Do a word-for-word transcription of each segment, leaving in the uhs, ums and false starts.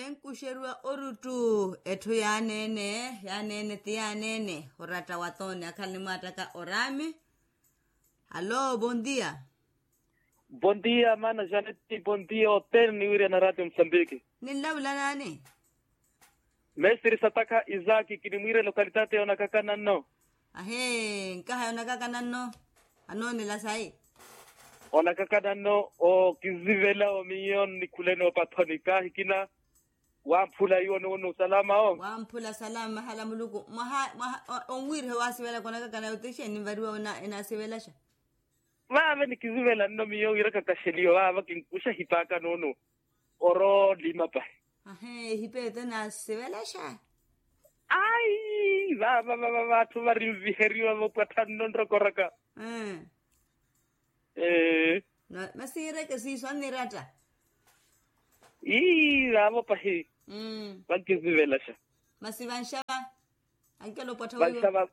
Enkuxeriwa oruttu etthu yaaneene yaaneene ti yaaneene oratta wa tooni akhala nimwaattaka oraami. Allo bondia. Bondia mana janeti bondia othene oniwiirya na ratio musambiki. Ninlavula naani? Mestre satakha isaki kinimwiirya lokalitati onakakana nno. Ahee nkaha yonakakana nno. Anoonela sayi? Onakakana nno okizivela omiyo nnikhulene opathoni kaahikina. Wamphula iwo nuunu salama o. Wamphula salama mahala muluku mwaha mwaha. Onwiiriha waasivelaka onakakana yothixi enivariwa enasivelaxa. Vaave nikisivela nno miyo wiiraka kaxeliyo vaava kinkuxa ehipaka nuunu. Oroolima pahi. Ahe ehipa eto enasivelaxa. Ayi vaava vaava vatthu varinviheriwa vopwattha nno nrokoraka. Ee. Masi yiireke siiso anniratta. Ii vaavo pahi. Vankisivelaxa. Masi vanxava. Ankela opwattha wiiwo.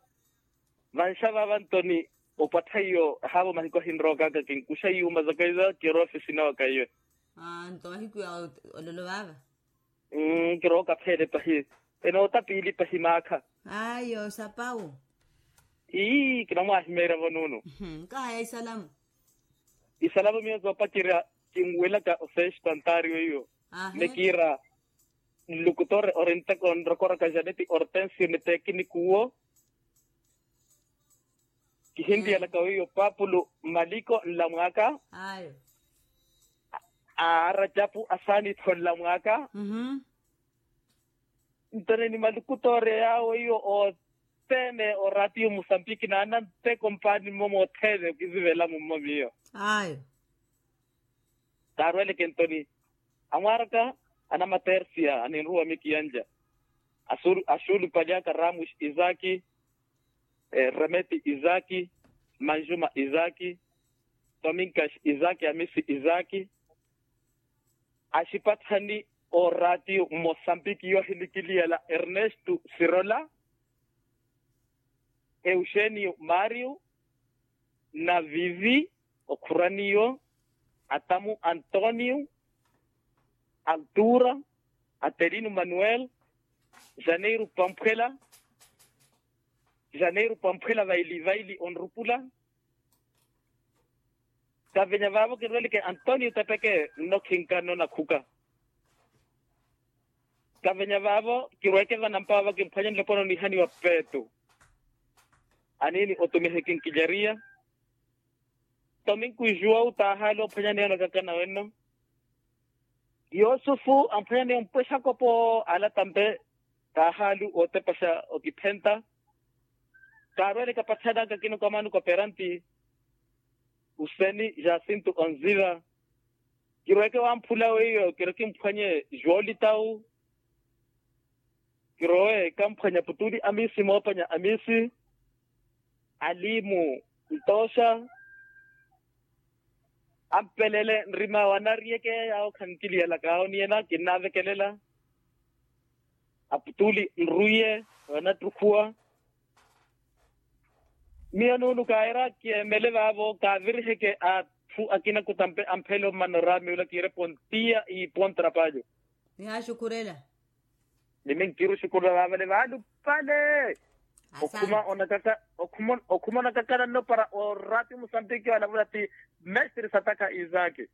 Vanxava vantoni opwattha iyo haavo mahiku ahinrookaka kinkuxa iyuuma zaka iza kirowa ofisina waka iyo. Nto mahiku ya ololo vaava. Kirooka pheele pahi. Enoota piili pahi maakha. Ayo sapawu. Ii kinamwaahimeerya-vo nuunu. Nkahaya isalamu. Isalamu miyo zoopacerya kinwelaka osesto antario iyo. Nekiira nlukutore orinteko nrokoraka janeti ortensio ni tekinikuwo. Kihintiyalaka weiyo paapulu maliko nlamwaka. Ayo. Aracapu asaanitho nlamwaka. Ntone ni malukutoore yaawo iyo othene oratiyo musambiki naananteko mpaani mmo mothene okisivela mummo miyo. Ayo. Kaarweleke ntoni amwaaraka anamatersia aninruwa mikiyanja. Axuulupali aka ramus isaki, remeti isaki, manjuma isaki, tominkas isaki amisi isaki. Axipatthani oraatiyo mosambiki yoohilikiliyela ernesto sirola, euxenio mario, na vivi okhuraniyo, atamu antonio, altura, atelino manuel, janeiru pamphwela, janeiru pamphwela vaili vaili onrupula. Kavenya vaavo kinrweleke antonio tepeke nnokhinka nnonakhuka. Kavenya vaavo kirweke vanampa vaavo kimphwanye nloponi onihaniwa petu. Aniini otumiha ekinkileriya. Tominkuijuwa wu taahali ophwanya niye onakakana wenno. Yusufu amphwanya niye ompwexa kopo alatampe. Taahali otepaxa okiphenta. Kaarwele kapathanaka kino kamani koperanti. Useni jasintu onziva. Kiroweke wamphula weiyo kiro kimphwanye joolitawu. Kirowe kamphwanya putuli amisi moopanya amisi. Alimu ntooxa. Ampelele nrima wanariyeke yaawo khankiliyelaka oniyena kinnavekelela. Aputuli nruiye wanattukhuwa. Miyo nuulu kaayera kiyemele vaavo kaaviriheke atthu akina kutampe amphele ommana oraamiwela kiire pontiya iipontra paajo. Nihaaxukhurela. Nimi nkiruxukhurela vaavale vaalupale. Okhuma onakaka okhuma onakakana nnopara oraati musambiki walavula ti mestre satakha isaki.